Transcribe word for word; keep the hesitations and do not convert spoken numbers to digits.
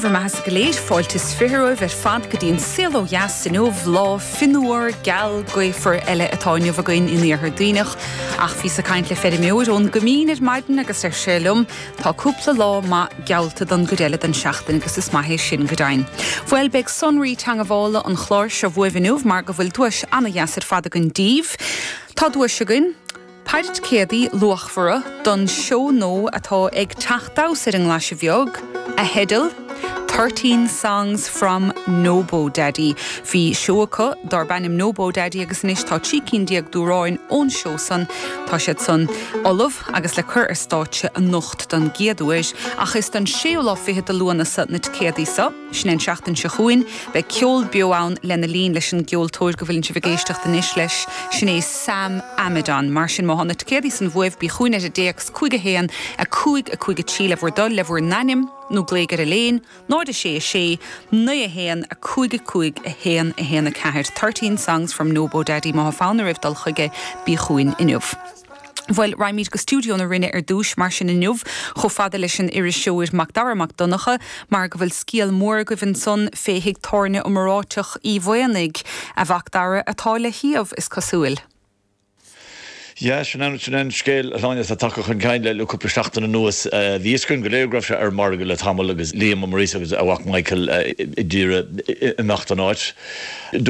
bhur mbeatha go léir fáilte is fiche romhaibh ar fad go dtí an saol ó dheas inniu lá fionnuar geal gaofar eile atá inniu againn in iarthar Duibhneach ach bhíos ag caint le feirmeoir ón gCoimín ar maidin agus ar sé liom tá cúpla lá maith geallta don gcuid eile den seachtain agus is maith é sin go deimhin. Bhuel beidh sonraí teagmhála an chláir seo uaibh inniu mar go bhfuil duais an-deas ar fad againn daoibh. Tá duais againn Péire ticéadaí luachmhara don seó nua atá ag teacht abhus ar an nGlaise Bheag, a theideal Thirteen Songs from Nobo Daddy. Bhí seó acu darb ainm Nobo Daddy agus anois tá trí cinn déag d'amhráin ón seó san tá siad san ullamh agus le cur ar stáitse anocht don gcéad uair, ach is don séú lá fichead de Lúnasa na ticéadaí seo, sin an seachtain seo chugainn, beidh ceol beo ann lena linn leis an gceoltóir go bhfuil sibh ag éisteacht anois leis sin é Sam Amidon. Mar sin má tá na ticéadaí san uaibh bí chugainn ar an dtéacs cúig a haon a cúig a cúig a trí le bhur dtoil le bhur n-ainm nó glaoigh ar an líne, náid a sé a sé, naoi a haon a cúig a cúig a haon a haon a ceathair. Thirteen songs from Nobo Daddy má fonn oraibh dul chuige bí chugainn inniu. Bhuel raghaimid go stiúideo na Rinne ar dtús mar sin inniu chomh fada leis an iriseoir Macdara Mac Donncha mar go bhfuil scéal mór agaibh ansan fé thigh tábhairne iomráiteach Uí Mhaonaigh a Mhacdara atá le shuíomh is cosúil. Ja sin an sin an scéal aláine a tagtha chun cinn le cúpla seachtain anuas bhí an go léir sé ar margadh le tamall agus Liam Maurice agus a mhac Michael ag iarraidh imeacht an áit.